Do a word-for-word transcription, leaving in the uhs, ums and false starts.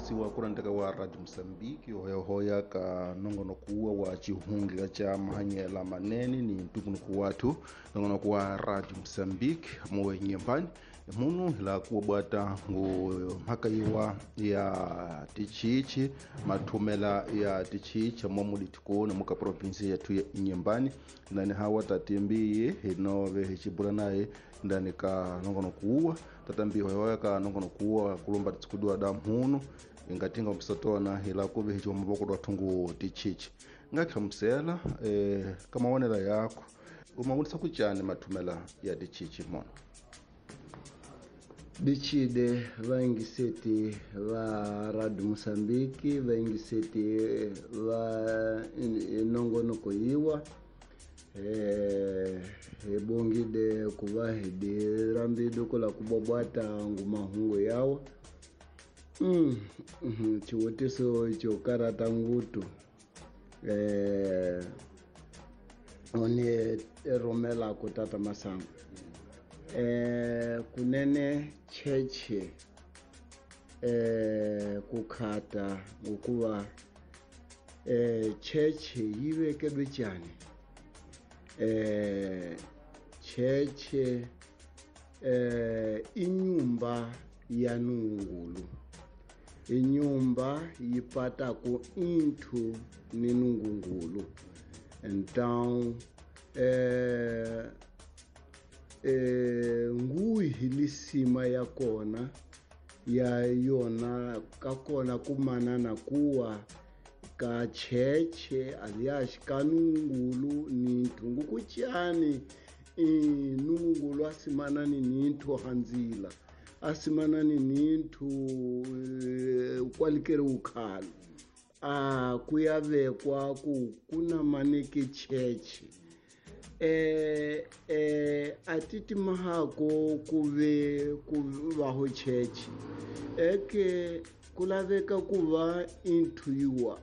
Yingisiwa ku rhandzeka wa Radio Mozambique hoyahoya ka nongonoko wa xihundla xa mahanyela manene ni ntumbuluko wathu nongonoko wa Radio Mozambique mowe nyembani munhu hi laha ku bwata ngo mhaka yiwa ya tichichi mathumela ya tichichi mo mulitikoni muka provinsi yethu ya Inhambane ndani hawa tatimbiyi hi nove hi xibula naye ndani ka nongonoko wuwa tatambihi hoyahoya ka nongonoko wuwa kulumba titsikudiwa da mhunu ingatinga mpisatona hi laha ku ve hi mavoko lwa thungu tichichi nga hlamusela eh ka mavonelo yakho u ma vonisa ku cani mathumela ya tichichi mona Dichide vaingiseti va Radio Mozambique vaingiseti va nongonoko yiwa eh hi bongide ku va hi dirambide ku la ku bobwata ngumahungu yawa mm xivutiso xo karata ngutu eh one rhumela ku tata Masango eh kunene cheche eh kukhata ngokuva eh cheche yi vekelwe njhani eh cheche eh inyumba ya nungulu inyumba yi pataku inthu ni nungungulu então eh eh nguhi lisima ya kona ya yona ka kona kumanana kuwa ka cheche alias ka nungulu ni nthungu kutyani nungulu asimanani ni nthu hanzila asimanani ni nthu kwalikere ukhalo a kuyavekwa ku kuna maneke cheche eh eh atiti mahako kuve kuvaho cheche eke kulaveka kuva inthu yiwa.